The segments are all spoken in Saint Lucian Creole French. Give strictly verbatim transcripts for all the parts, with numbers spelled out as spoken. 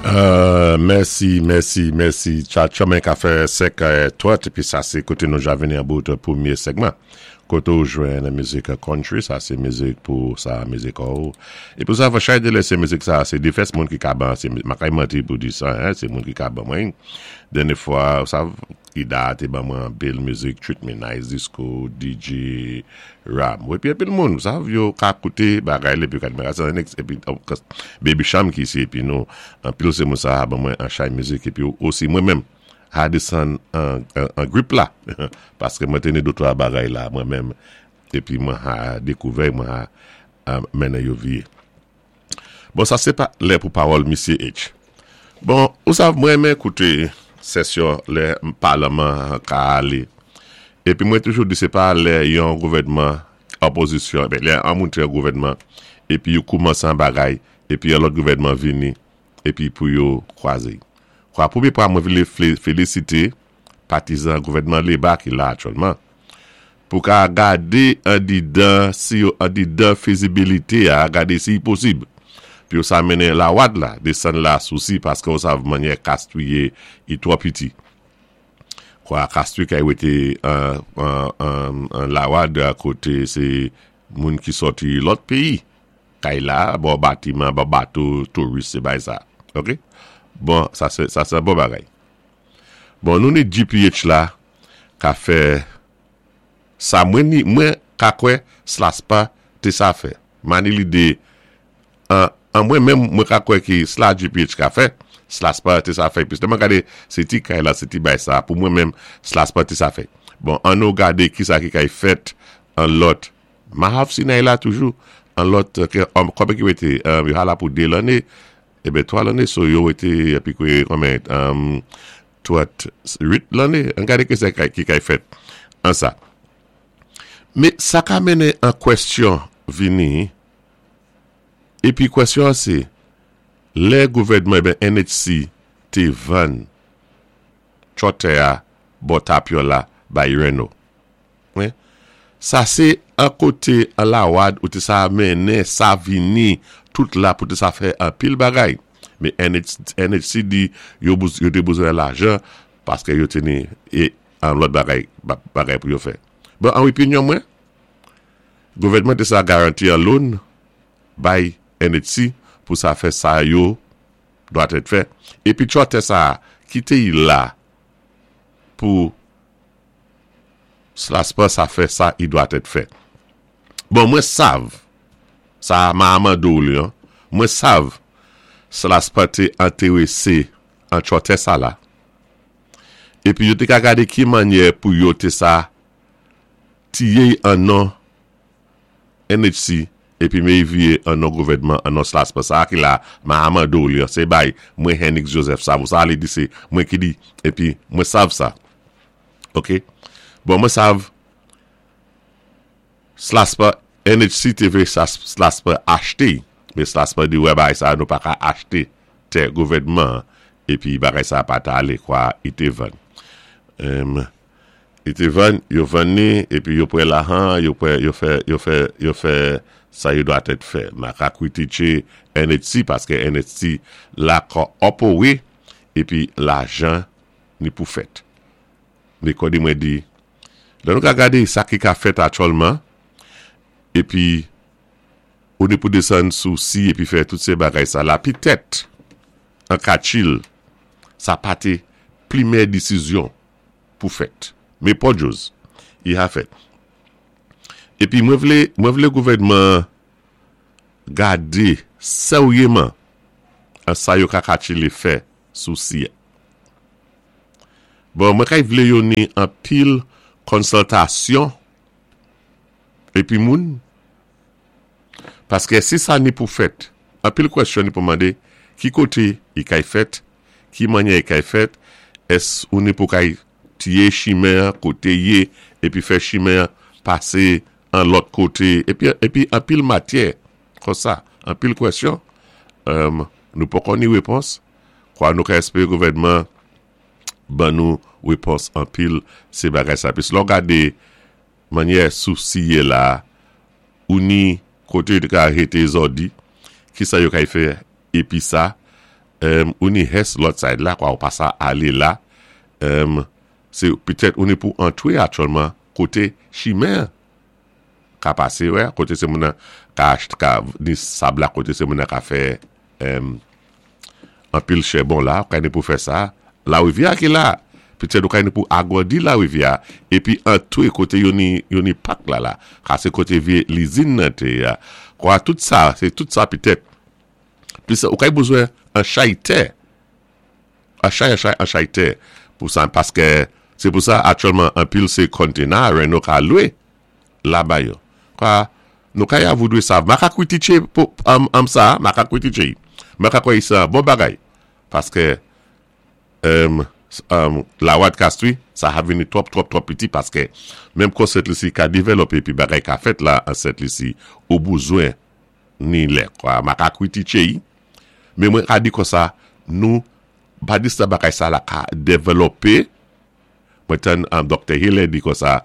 Euh, mèsi, mèsi, mèsi. Tchatcho ka fè sèk twant, épi sa sé koté nou ja vini an bout pwémyé segman. Koté ou jwenn mizik country, sa sé mizik pou sa mizik ou. É pou sa va chay de lè sé mizik sa, sé difès moun ki ka ban, sé ma kay manti pou di sa, hein, sé moun ki ka ban mwen. Dènyé fwa, sa Ida té ban mwen bèl mizik, Treat Me Nice, Disco, D J Ram. Épi épi moun, sa yo ka kouté bagay épi ka di épi Baby Cham ki isi épi nou anpil sé moun sa ban mwen an chay mizik épi osi mwen menm a desann an, an, an grip la paské mwen té ni dé twa bagay la mwen menm épi mwen a dékouvè mwen a, a mennen yo vié. Bon, sa sé pa lè pou pawòl Misyé H. Bon, ou sav mwen renmen kouté sesyon lè palman ka alé. Épi mwen toujou di sé pa lè yon gouvèdman opozisyon, ben, lè an moun yon gouvèdman épi yo koumansé an bagay épi yon lòt gouvèdman vini épi pou yo kwazé. Kwa pwémyé pwa mwen vlé félisité patizan gouvèdman Léba ki la aktyèlman pou ka gadé andidan si yo andidan fizibilité a gadé si posib. Pi yo sa mennen Lawad la, desann la Sousi paské ou sav mannyè Castries yé i twò piti. Kwa Castries kay wété an, an, an, an Lawad koté sé moun ki sòti lòt péyi. Kay la, bon batiman, bon bato, touris, sé bay sa. OK? Bon, sa sé sa sé bon bagay. Bon, nou ni G P H la ka fè sa mwen ni mwen ka kwè SLASPA té sa fè. Mani lidé an, an mwen menm mwen ka kwè ki sla G P H ka fè, SLASPA té sa fè. Pis mwen gadé sé ti kay la, sé ti bay sa, pou mwen menm SLASPA té sa fè. Bon, an nou gadé ki sa ki kay fèt an lòt. Mahav Sinai la toujou, an lòt, konbyen ki wété, yo ha la pou dé lanné, ében twa lanné, so yo wété, épi kwé, konbyen, um, twa, uit lanné, an gadé ki sa ki kay fèt an sa. Mé sa ka mennen an kwèsyon vini, épi kwèsyon sé, lè gouvèdman, ben N H C té vann chòtè a bò Tapyola la bay Reno. Wi? Sa sé an koté an Lawad ou té sa mennen sa vini tout la pou té sa fè an pil bagay. Mé N H C di yo, yo té bezwen lajan paské yo té ni é an lòt bagay, bagay pou yo fè. Bon, an opinyon mwen, gouvèdman té sa garanti an loan bay N H C pou sa fè sa yo dwa èt fè. Épi chòtè sa kité y la pou SLASPA sa fè sa i dwa èt fè. Bon, mwen sav, sa ma amando li, mwen sav SLASPA té entéwésé an chòtè sa la. Épi yo té ka gadé ki mannyè pou yo té sa tiyé an non N H C épi mé vyé an non gouvèdman an non SLASPA sa ki la ma amando li, sé bay mwen Henix Joseph sa, sa alé di sé mwen ki di épi mwen sav sa. OK? Bon, mwen sav SLASPA N H C té vlé sa SLASPA achté, mé SLASPA di wè bagay sa nou pa ka achté tè gouvèdman épi bagay sa pa ta alé kwa i té vann. Um, i té vann, yo vann ni épi yo pran lajan, yo pran yo fè yo fè yo fè sa yo dwa èt fè. Ma ka kwitiké N H C paské N H C la ka opowé épi lajan ni pou fèt. Mé kon di mwen di, lè nou ka gadé sa ki ka fèt aktyèlman épi ou ni pou desann Sousi épi fè tout sé bagay sa la pitèt an Kachil sa pa té pwémyé désizyon pou fèt. Mé Port-Joe, i ha fèt. Épi mwen vlé, mwen vlé gouvèdman gadé sèwyéman an sa yo ka kachilé fè Sousi. Bon, mwen kay vlé yo ni an pil konsiltasyon épi moun paské si sa ni pou fèt, an pil kwèsyon ni pou mandé ki koté i kay fèt, ki mannyè i kay fèt, ès ou ni pou kay tiyé chimen koté yé épi fè chimen pasé an lòt koté épi épi an pil matyè kon sa, an pil kwèsyon um, nou poko ni wépons kwa nou ka espéré gouvèdman ban nou wépons an pil sé bagay sa. Pis lò gadé mannyè Sousi yé la ou ni koté yo ka hété zòdi ki sa yo kay fè épi sa Um, ou ni Hess lòt side la, kwa ou pa sa alé la, um, sé pitèt ou ni pou antwé aktyèlman koté chimen ka pasé, wè, koté sé moun ka achte, ka ni sab la koté sé moun ka fè um, anpil chèbon la, ou ka ni pou fè sa, larivyè ki la, pitèt ou ka ni pou agrandi larivyè, épi antwé koté yo ni, yo ni pak la la, ka sé koté vyé lizin nan té ya, kwa tout sa, sé tout sa pitèt, plis ou ka bezwen an chay tè, an chay, an chay, an chay tè, pou sa, paské sé pou sa aktyèlman anpil sé container, Reno ka lwé, la ba yo. Kwa, nou ka ya voudwé sa, ma ka kwitiché pou, am, am sa, ma ka kwitiché, ma ka kwè sa, bon bagay, paské, um, um, la wad kastwi, sa ha vini twòp, twòp, twòp piti, paské, menm kon Sent Lisi ka dévlopé, pi bagay ka fèt la, an Sent Lisi, ou bezwen ni lè, kwa, ma ka kwitiché, men mwen ka di kon sa, nou, pa di sa bagay sa la ka dévlopé, mwen tann an Doktè Hiller di kon sa,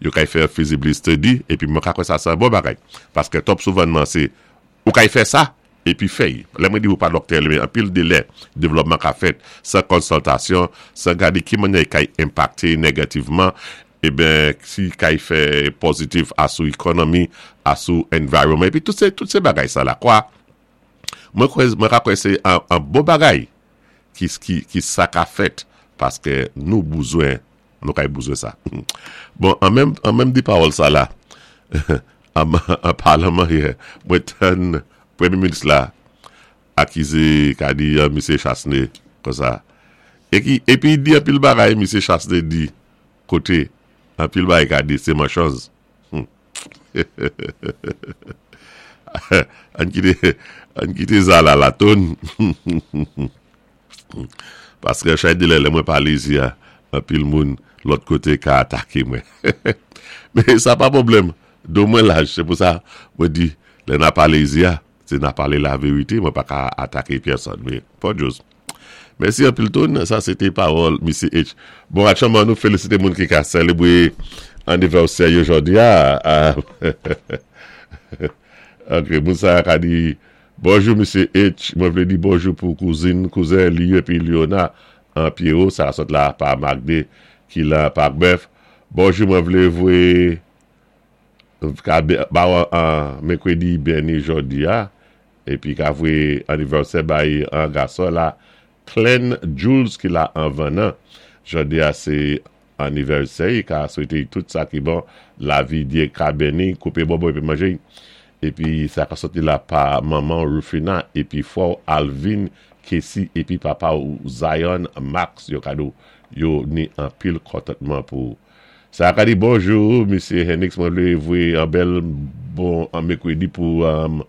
yo kay fè feasibility study, épi mwen ka kwè sa sa bon bagay, paské twòp souvanman sé, ou kay fè sa, épi fèy. Lè mwen di ou pa doktè, men anpil de lè, dévlopman ka fèt, san konsiltasyon, san gadé ki mannyè kay enpakté négativman, eben, si kay fè pozitif asou ekonomi, asou environment, épi tout sé, tout sé bagay sa la, kwa, mwen kwè, mwen ka kwè sé an, an bon bagay ki, ki, ki sa ka fèt, paské nou bezwen, nou kay bezwen sa. Bon, an menm, an menm di pawòl sa la, an, an palman yè, mwen tann Pwémyé minis la, akizé, ka di, uh, Misye Chastanet, kon sa. É ki, épi di anpil bagay, Misye Chastanet di, koté, anpil bagay ka di, sé manchanz. Hmm. Ann kité, ann kité sa la la ton. Paské chay de lè, lè mwen palé isi ya, anpil moun lòt koté ka ataké mwen. Men sa pa pwoblèm. Do mwen laj, sé pou sa, mwen di, lè na palé isi ya, sé na palé la vérité, mwen pa ka ataké pèsòn. Men, pa djòz. Mèsi anpil ton, sa sé té pawòl Misye H. Bon, aktyèlman nou félisité moun ki ka sélébwé anivèsè yo jòdi a. Ok, moun sa ka di, bonjou Misye H, mwen vlé di bonjou pou kouzin, kouzen li épi Liona an Pierrot, sa sot la pa Magde ki la Parc Bœuf. Bonjou, mwen vlé vwé ka ba an mèkwédi béni jòdi a, épi ka vwé anivèsè bay an gason la, Glenn Jules ki la an Vanan. Jòdi a sé anivèsè, ka swété tout sa ki bon, lavi Dyé ka béni, koupé bobo épi manjé. Épi sa ka soti la pa manman Rufina, épi frè Alvin Kessi, épi papa ou Zion Max, yo kado yo ni anpil kontantman pou. Sa ka di bonjou, Misye Henix, mwen vlé vwé an bèl bon an mèkwédi pou um,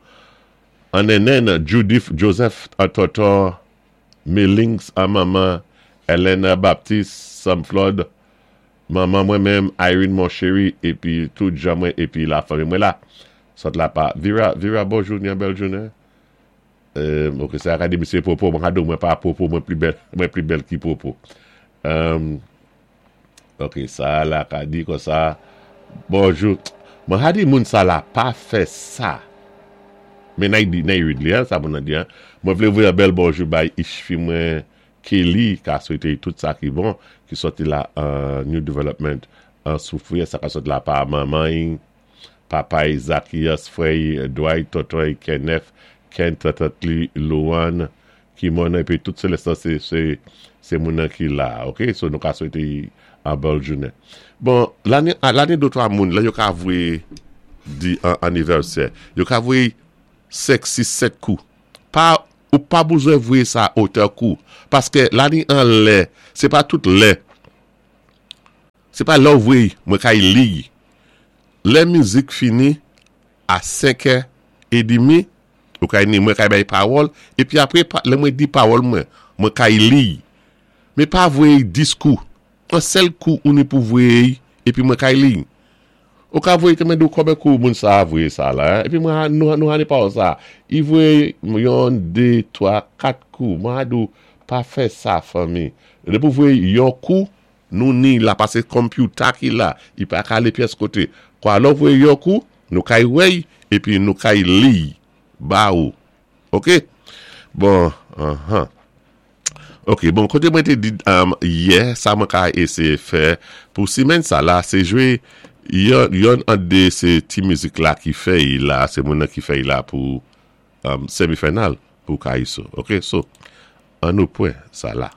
an nenen Judith Joseph, an tonton Melings, an manman Elena Baptiste, Sam Flood, manman mwen menm Irene Monchery, épi tout jan mwen, épi la fanmi mwen la. Sot la pa Vira, Vira, bonjou, ni an bèl jounen. Euh, ok, sa ka di Misye Popo, mwen kado mwen pa Popo, mwen pli bèl, mwen pli bèl ki Popo. Um, ok, sa la ka di kon sa, bonjou. Mwen ha di moun sa la pa fè sa. Men nay di, nay read li, sa moun nan di, mwen vlé voyé an bèl bonjou bay ishfi mwen Kelly, ka swété tout sa ki bon, ki soti la uh, New Development an Soufrière, sa ka soti la pa manman, papa Zacchaeus, frè Dwight, tonton Kenneth, Ken, tatat li, Luan, ki moun épi tout sé lè sa sé, sé, sé moun nan ki la, ok? So nou ka swété an bèl jounen. Bon, la ni, la ni dé twa moun, la yo ka vwé di an anivèsè, yo ka vwé senk, sis, sèt kou. Pa, ou pa bezwen vwé sa otè kou, paské la ni an lè, sé pa tout lè, sé pa lè ou vwé, mwen kay li. Lè mizik fini, a senk è édmi, ou kay ni mwen kay bay pawòl, épi apwé, lè mwen di pawòl mwen, mwen kay li. Men pa vwé dis kou, an sèl kou ou ni pou vwé, épi mwen kay li. Ou ka vwé, te men do konbé kou moun sa vwé sa la, épi mwen nou, nou hani pawòl sa. I vwé yon, dé, twa, kat kou, mwen ha dou pa fè sa fanmi. Lè pou vwé yon kou, nou ni la, pasé computer ki la, i pa ka alé pyès koté. Kwa lò vwé yon kou, nou kay wèy, épi nou kay li, ba ou. Ok? Bon, uh-huh. Ok, bon, koté mwen té di um, yè, sa mwen ka éséyé fè pou simenn sa la, sé jwé yon, yon an dé sé ti mizik la ki fè y la, sé moun ki fè y la pou um, semi-final pou Kayiso. Ok, so, an nou pwan sa la.